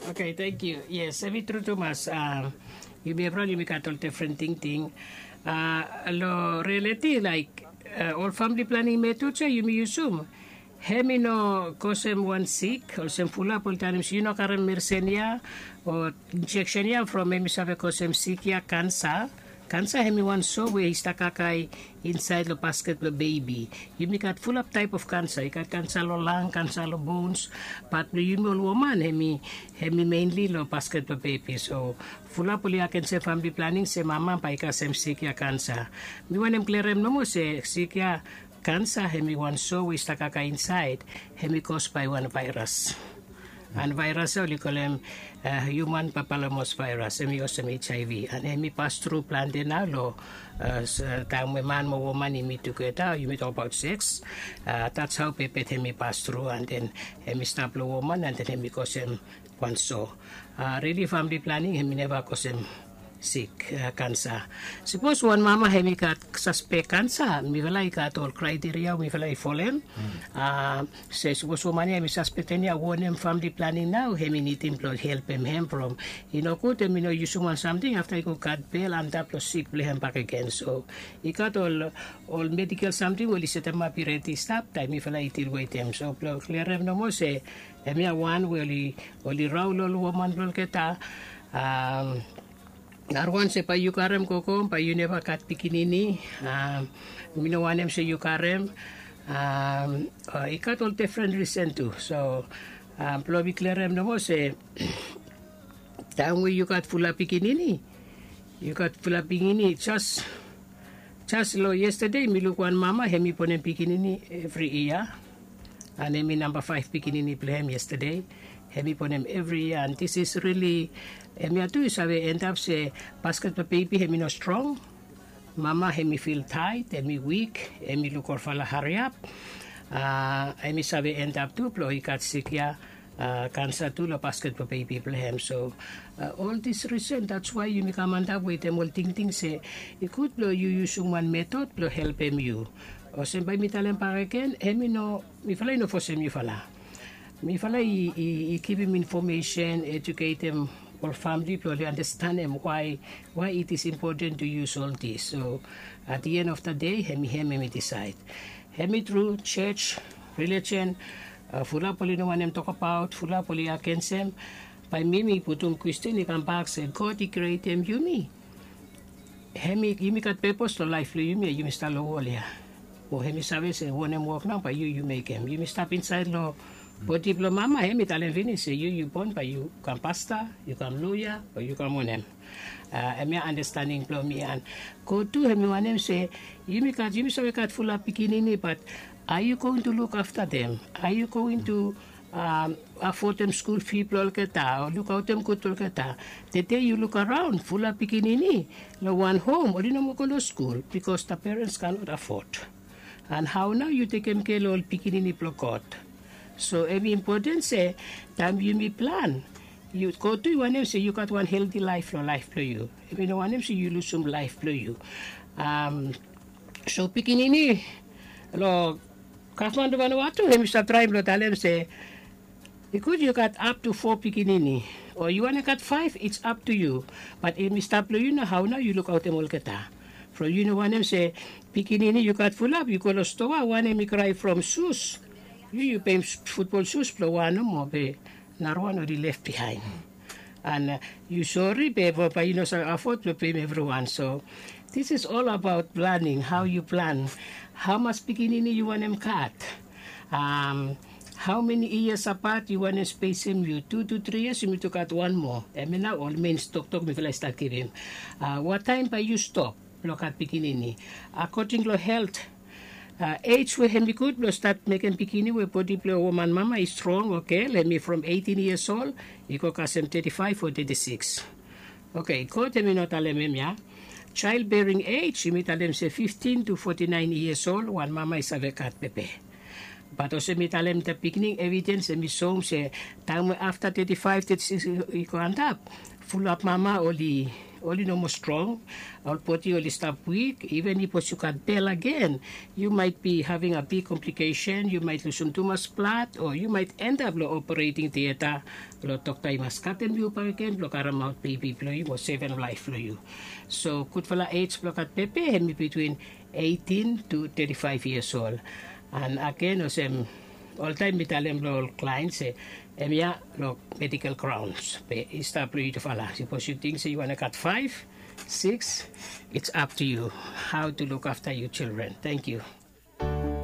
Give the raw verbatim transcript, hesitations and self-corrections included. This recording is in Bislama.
Oke, tangkiu. Yes, em i tru tumas. Yumi evriwan yumi gat ol difren tingting. Long rialiti laik ol famili planing metod ya yumi yusum, em i no kosem wan sik olsem fulap oli talem se yu no karim medisen ya o injeksen ya from em i save kosem sik ya kansa. Kansa em i wan so we i stap kakae insaed long basket blong bebi. Yumi gat fulap taep of kansa, i gat kansa long lang, kansa long bons. Bat blong yumi ol woman em i em i menli long basket blong bebi. So fulap oli agensim famili planing se mama bae i kasem sik ya kansa. Mi wantem klirim nomo se sik ya kansa em i wan so we i stap kakae insaed. Em i kos bae wan vaeras. An vaeras ya oli kolem hiuman papalamos vaeras, em i olsem hiv. An em i pas tru plante nao long taem we man mo woman i mit tugeta, yumi tokbaot seks. Dats hao bebet em i pas tru an den em i stap long woman an den em i kosem wan so. Rili famili planing em i neva kosem sik kansa. Sipos wan mama em i gat saspek kansa, mifala i gat ol kraiteria we mifala i folem. Se sipos woman ya em i saspektem ya wanem famili planing nao em i nidim blong helpem em from i no gud em i no yusum wan samting afta i go gat bel antap long sik blong em bakegen. So i gat ol ol medikel samting we oli setemap i redi stap taem mifala i dil wetem. So blong klirim nomo se em ya wan we oli raol ol woman blong olgeta. Narawan se bae yu karem gogo bae yu neva gat pikinini. Mi no wanem se yu karem. I gat ol difren risen tu. So blong mi klirim nomo se taem we yu gat fulap pikinini, yu gat fulap pikinini jas jas long yestade mi luk wan mama em i bonem pikinini evri yia. An em i namba faef pikinini blong em yestade. Em i bonem evri yia an dis is rili em ya tu i save endap se basket blong bebi em i no strong. Mama em i fil taet, em i wik, em i luk olfala hariap. Em i save endap tu blong i gat sik ya kansa tu long basket blong bebi blong em. So ol dis risen dats wae yumi kam antap wetem ol tingting se i gud blong yu yusum wan metod blong helpem yu. Olsem bae mi talem bakegen, em i no mifala i no fosem yufala. Mifala i givim infomesen, ejuketem ol famili blong oli andastanem wae wae it is impoten tu yus ol dis. So at di en of da dei em i hem em i disaed. Em i tru sios, relijen, fulap oli no wantem tokabaot, fulap oli agensem. Bae mi mi putum kwestin i kambak se God i krietem yumi, em i yumi gat pepos long laef blong yumi ya yumi stap long wol ya? O em i save se wanem wok nao bae yu yu mekem? Yumi stap insaed long bodi blong mama em i talem finis se yu yu bon bae yu kam pasta, yu kam loya, o yu kam wanem? Em ya andastaning blong mi. An God tu em i wanem se yumi gat yumi save gat fulap pikinini, bat are yu going tu luk afta dem? Are yu going tu afodem skul fi blong olgeta o lukaotem gud blong olgeta? Tede yu luk araon fulap pikinini long wan hom oli no moa go long skul bikos da perens kanot afod. An hao nao yu tekem kea long ol pikinini blong God? So em i impoten se taem yumi plan, God tu i wanem se yu gat wan helti laef long laef blong yu. Em i no wanem se yu lusum laef blong yu. So pikinini, long gavman blong Vanuatu em i stap traem blong talem se i gud yu gat ap tu fo pikinini, o yu wantem gat faef, it's up to you. Bat em i stap long yu nao hao nao yu lukaotem olgeta. From yu no wantem se pikinini yu gat fulap yu go long stoa wanem i krae from sus. Yu yu peim futbol sus blong wan nomo be narawan oli lef biaen. An yu sori be bae yu no save afod blong peim evriwan. So dis is ol abaot planing, hao yu plan, hamas pikinini yu wantem gat, hao meni yias apat yu wantem spesem yu tu tu tri yias yumi tu gat wan moa. Em ya nao ol men toktok mifala i stap givim. Wataem bae yu stop blong gat pikinini? Akoding long helt, ej we hem i gud blong stat mekem pikinini we bodi blong woman mama i strong o gel hem i from eitin yias ol i go kasem teti faef o teti sikis. Oke, god hem i no talem hem ya. Jael bering ej yumi talem se fiftin tu foti naen yias ol wan mama i save gat pepe. Bat olsem mi talem da bigning evidens hem i soem se taem we afta teti faef teti sikis i go antap, Fulap mama oli oli no moa strong, ol bodi oli stap wik. Even ipos yu gat bel agen, yu mait bi having a big komplikesen, yu mait lusum tumas blad o yu mait endap long opereting tieta. Long dokta i mas katem yu bakegen blong karemaot bebi blong yu mo sevem laef blong yu. So gudfala ej blong gat pepe hem i bitwin eighteen to thirty-five years old. An agen olsem oltaem mi talem long ol klaen se hemia long medical graons be i stap long yutufala. Sipos yu ting se yu wantem gat faef, six, it's up to you how to look after your children. Thank you.